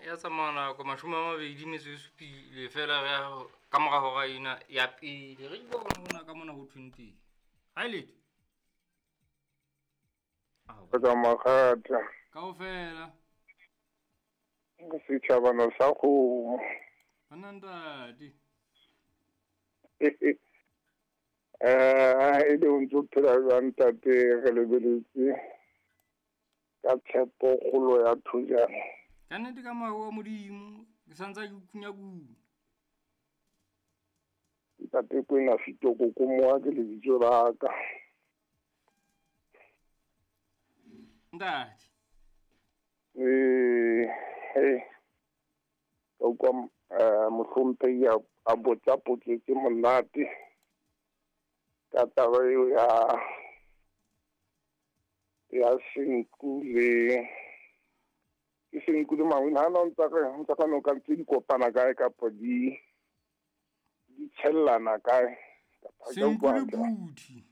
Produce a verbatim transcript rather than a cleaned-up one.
Ya tsamaya nako mashome a mabedi metso e supile fela re ya ka mora hora ena ya pele. Re ke bona hona ka mona ho thweng teng. Ha e letho. Ka makgatha. Kaofela. Setjhabana sa kgomo. Banna ntate. Eh, e le o ntso phela jwang ntate, re lebeletse ka tshepo kgolo ya thojana. Ka nnete ka moya wa Modimo, ke santsa ke kunya-kunya. Ntate Kwena Fitoko Komoa ke lebitso la ka. Ntate. Eh, eh. Ka utlwa, eh, mohlomphehi a, a botsa potso tse monate ka taba eo ya, ya senku le, ke senku le mangwele. Ha na o ntsa re, o ntsa ka noka ntse di kopana kae kapa di, di tshellana kae? Kapa ha ke a Senku utlwa le hantle. phuthi.